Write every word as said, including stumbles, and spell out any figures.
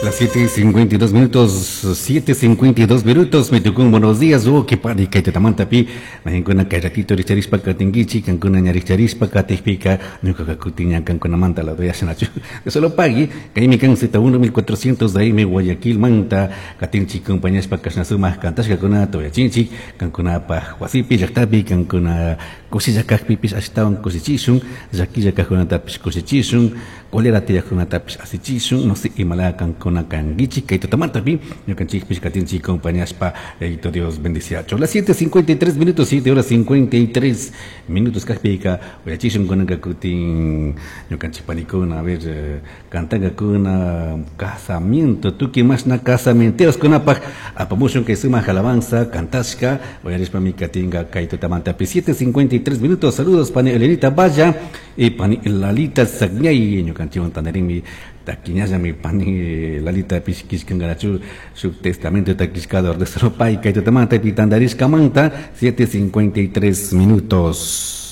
Las siete cincuenta y dos minutos, siete cincuenta y dos minutos, me tocó un buenos días, oh, qué padre, que te tamanta pi, mahinkuna kay ratito richarishpa katinkichi, kankuna ñaricharishpa katijpika, ñuka kakutiña kankuna manta la doy ashanachu. Solo pagui, kaymi kan Z uno mil cuatrocientos de A M Guayaquil manta, katinchi compañashpa kashnasuma kantashkakuna toyachinchi, kankunapaj wasipi, llaktapi, kankuna kushilla kajpipish ashtawan kushichishun, llakilla kajkunatapish kushichishun, cólera tiyajkunatapish asichishun, no sé, imala kankuna kankichi, kay tutamantapi, ñukanchikpish katinchi compañashpa, Yayito Dios bendiciacho. Las siete cincuenta y tres minutos, siete horas cincuenta y tres minutos kajpika, uyachishun kunanka kutin ñukanchik panikuna, a ver, eh, kantankakuna, casamiento, tukuy mashna casamenteros kunapaj, apamushun kay sumak alabanza, kantashka, uyarishpami katinka kay tutamantapi, siete cincuenta y tres minutos. Saludos pani Elenita Valla y pani Lalita Sagñay, ñukanchikwan tandarinmi taquiñallami pani Lalita pishkishkangarachu su testamento taquishkado de solo pay kay tutamanta pitandarishkamanta, siete cincuenta y tres minutos.